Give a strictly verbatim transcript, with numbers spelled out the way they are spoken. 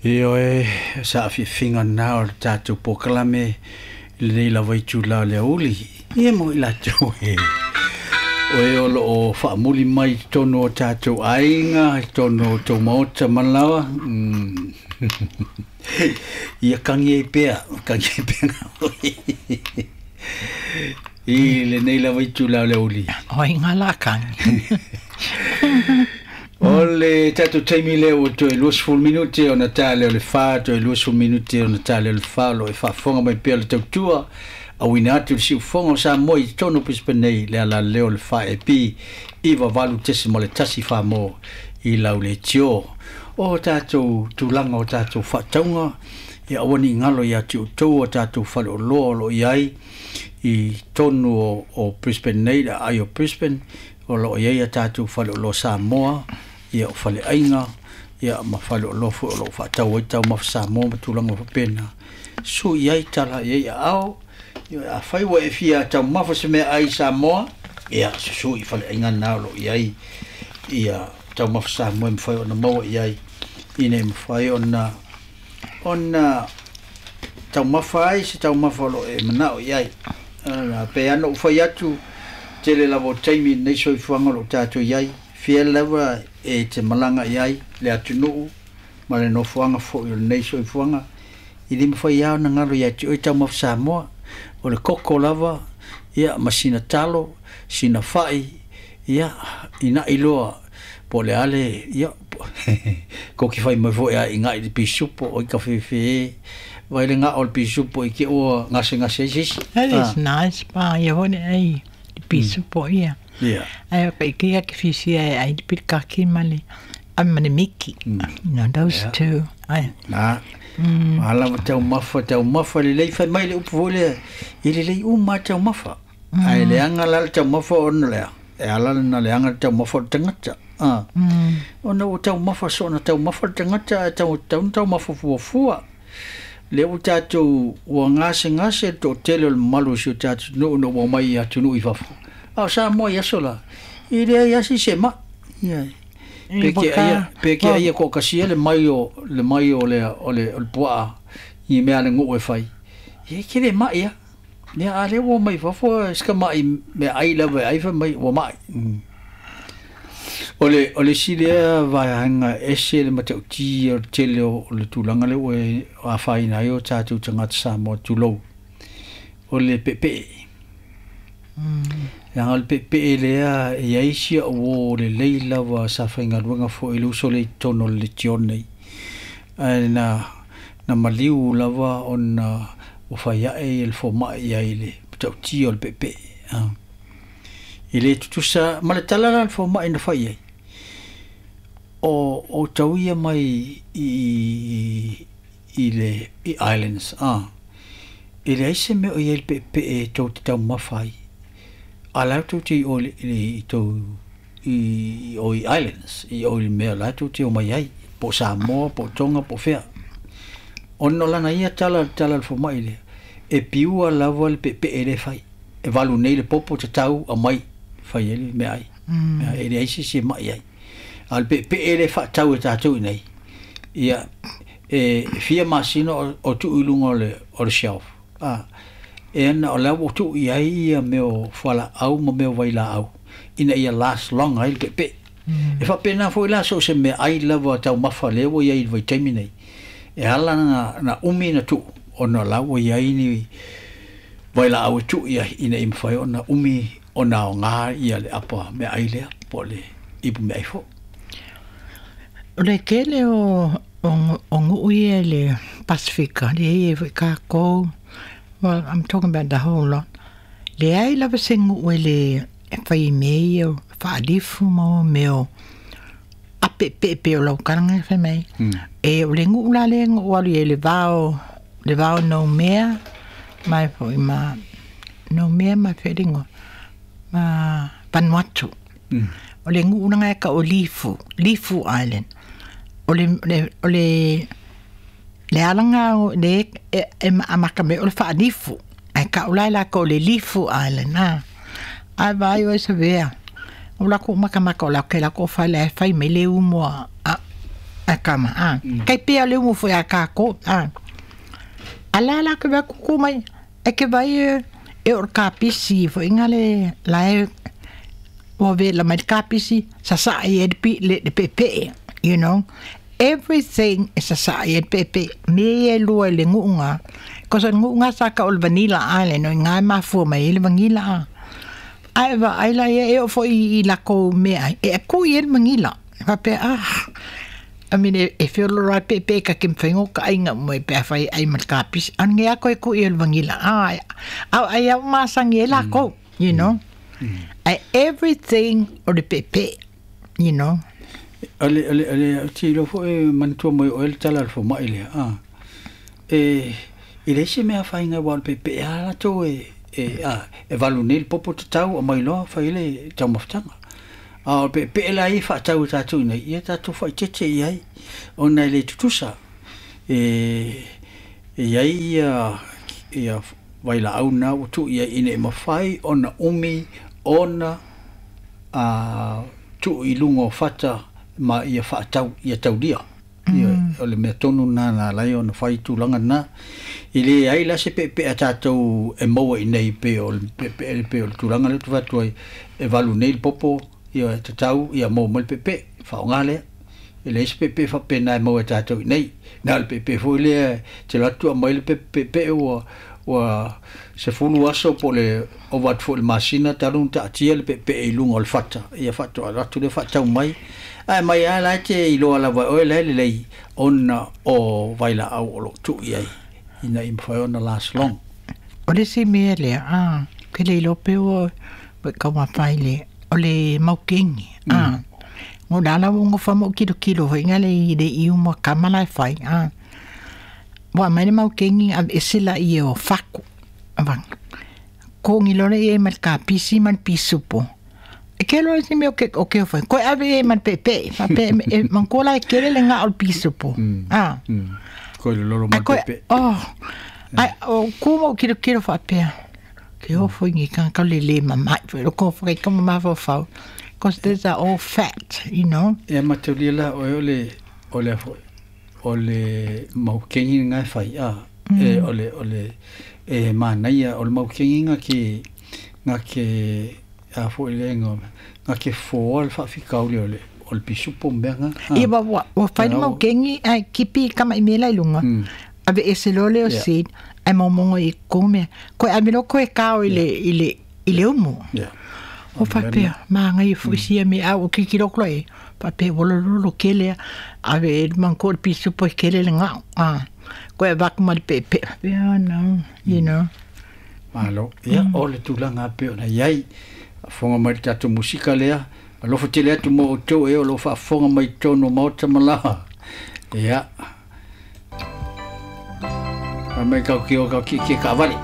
Ioe, saafiafiga lena o le tatou polokalame i lenei lava itulā o le aoauli. Ia mo i latou e o e o loo faamuli mai i totonu o tatou aiga, i totonu o tou maota ma laoa. Mm. Ia kagi ai pea, kagi ai pea i lenei lava itulā o le aoauli. O ai ngā la kangi. O le tatou taimi lea ua toe luasefulu minute ona ta lea o le fa, toe luasefulu minute ona ta lea o le fa. O loo e faafofoga mai pea le tautua auina atu le siufofoga o Samoa i totonu o Brisbane nei, le alaleo o le four A P iva valu tesima le tasi Samoa i lau leitio. O tatou tulaga o tatou faatauga, ia aua ne i galo ia te outou o tatou faleoloa o loo i ai i totonu o, o Brisbane nei, le aai o Brisbane, o loo i ai a tatou faleoloa Samoa, ia o faleaiga, ia ma faleoloa foi o loo faatau ai taumafa Samoa ma tulaga faapena. Sui ai tala i ai aao. Ia afai ua e fia taumafa se mea ai Samoa, ia susu i faleaiga na o loo i ai ia taumafa Samoa e mafai ona maua i ai, ina e mafai ona ona taumafa ai se taumafa o loo e manao i ai. Pe ana ou fai atu, tele lava o taimi nei soifuaga o loo tatou i ai, fia lava e te malaga i ai le atunuu ma le nofoaga foi o lenei soifuaga, i le mafai lava ona galo ia te oe taumafa Samoa, o le koko lava, ia ma sina talo, sina fai, ia ina'i loa po o le ale, ia koki fai mai foi a iga'i le pisupo oi kafefe vai le gao o le pisupo i ke ua gasegase ai se isi. That is nice pa ia hone ai te pisupo ia. Ia. Ai o kai kia ke fisia e ai te pirikaki ma le a ma le miki. You know, those Yeah. two. Ai. Na mm. Ala taumafa taumafa lelei, fai mai le upu foi lea, e lelei uma taumafa mm. Ae leaga la le taumafa ona lea e ala na leaga le taumafa o le tagata ah. Mm. Ona ua taumafa soona taumafa le tagata ae tau tau taumafa fuafua lea ua tatou ua gasegase le toatele o le mamalu o si o tatou nuu na ua mai i atunuu i fafo, a o Samoa i aso la i leai asi se ma'i. Ia pe ke aia pe ke aia toakasia le mai o le mai o le o le o le puaa i mea le nuu e fai ia ke le ma'i a ia a lea ua mai fafo sika ma'i mea ai lava e ai fai mai ua ma'i mm. O le o le isi lea vaega ese le matautia o le tele o le tulaga lea ua afaina ai o tatou tagata Samoa, tulou, o le peepee. Leaga o le peepee lea e i ai si au uō lelei lava sa faigaluega foi i le uso lea i totonu o le Legion nei, ae na na maliu lava ona ua fai ae le fomai i ai le matautia o le peepee. E le tutusa ma le tala la a le fomai na fai ai, o outou ia mai i i le i islands a e leai se mea o i ai le peepee tou te taumafa ai, a la e tou te i o i tou i o i islands i o i le mea la e tou te omai ai, po o Samoa po o Tonga po o fea. Ona o lana ia tala, le tala a le fomai lea, e piua lava le peepee lea e fai, e valu nei le popo tatau aumai fai ai le meaai mm. E leai se isi e mai ai, a o le peepee lea e faatau e tatou i nei, ia e fia masina o, o tuu i luga o le, o le shelf a e ana o la ua tuu i ai ia mea o fualaau ma mea o vailaau ina ia last long ai le peepee mm. E faapena foi la so o se mea ai lava taumafa lea ua i ai i le vaitaimi nei, e ala na, na umi na tuu ona la ua i ai ni vailaau e tuu i ai ina ia mafai ona umi ona aogā ia le apa meaai lea po o le ipu meaai foi. O le tele o o, o nuu ia le Pasifika, le ia foi kākou. Well, I'm talking about the whole lot. Leai lava se nuu e le e fai mea ia o faalifu ma o mea o apeepeepe o lau kalaga fai mai. Mm. E o le nuu la lea na ou alu i ai le vao le vao Noumea mai foi ma Noumea ma feligo ma Vanuatu. Mm. O le nuu lena e ka o Lifu, Lifu Island. O le le o le le alaga o le e, e amata mai o le faalifu. Ae kau la e lakou le Lifu Island a. Ae vaai oe savea. O lakou makamaka o lakou lakou fale ae fai mai le umoa a A kama a kai pea le umu foi a kākou a ala la ke va kuku mai e ke vai e o kapisi foi ngale la e o ve la mai kapisi sa sa e pi le le pepe, you know, everything is a sa e pepe me e lua le ngunga ko sa ngunga sa ka ol vanilla ale no ngai ma fu mai le vanilla ai va ai la e o foi i la ko me ai e ku i el vanilla va pe ah. I mean, e whiolo rai pe pe ka kim whengo ka ainga mo e pea whai ai mal kapis. An ngea koe ku i el vangila. Ah, au ai au masangi e la ko, you know. Ai everything o le pepe, you know. Ale, ale, ale, ti lo fo e mantua mo o el tala fo mai le. Ah. E, i le se mea whainga wal pepe a la tō e, e, a, e valu nei popo te tau o mai loa whai le tau mawhtanga. A o pe pe la i whaatau tātou nei, ia tātou whaitete i ai, o nei le tutusa. E, e ai ia, ia waila au nā utu ia ine e mawhai, ona umi, ona a, tu i lunga o whata ma ia whaatau, ia taulia. Ia, o le mea tonu nā nā lai ona whai tūlanga nā. I le ai la se pe pe a tātou e maua i nei pe o le pe pe pe o le tūlanga le tu whatu ai e valu nei le popo, ia te tau, ia mō mai le pepe, whaonga lea. E le isi pepe whapena e mau e tātou i nei. Nā le pepe fo i lea, te latu a mai le pepe pepe ua, ua se fulu aso po le o watu fo le masina, talung ta atia le pepe e lunga o le whata. Ia whatu a latu le whatau mai. Ai mai a lai te i loa lava oe le le lei, ona o vaila au o lo tu i ai. Ina i mwhai ona last long. O le si mea lea, ah, ke le lope o, ka wawhai le, o le maukengi, ah. Ngo dala ngo fa mo kilo kilo ho ngale i le i mo kamala fai, ah. Wa mai le maukengi a esela i o faku. Avang. Ko ngi lore e mal ka pisi mal pisupo. E ke lo si me o ke o ke fai. Ko ave e mal pepe, fa pe e mankola e kele le nga o pisupo. Ah. Ko le lolo mal pepe. Oh. Ai o ko mo kilo kilo fa pe. Ke o fo ngi kan ka le le mama fo ko fo ka mama fo fo. Because these are all fat, you know. E mataulia la o le o le fo o le maukengi ngai fai a e o le o le e manaia o le maukengi nga ke nga ke a fo le ngo nga ke fo al fa fikau le o le o le pisupo mbenga. E wa wa o fai maukengi ai kipi kama i mela lunga. Ave ese lole o seed ai momongo i kome ko ave lo ko e kao i le i le i le umu. Yeah. O papea, maanga i fuisia me au o kiki loklo e. Papea, wolololo kele, ave e manko le pisupo e kele le ngao. Ah, ko e vaku ma le pepe. Yeah, no, you know. Malo, ia, o le tūlanga pe ona iai. Whonga mai tātou musika lea. Alofa tele atu mo o tau e o lo whaafonga mai tōno maota malaha. Ia. Mai kau ki o kau ki ki ka wale.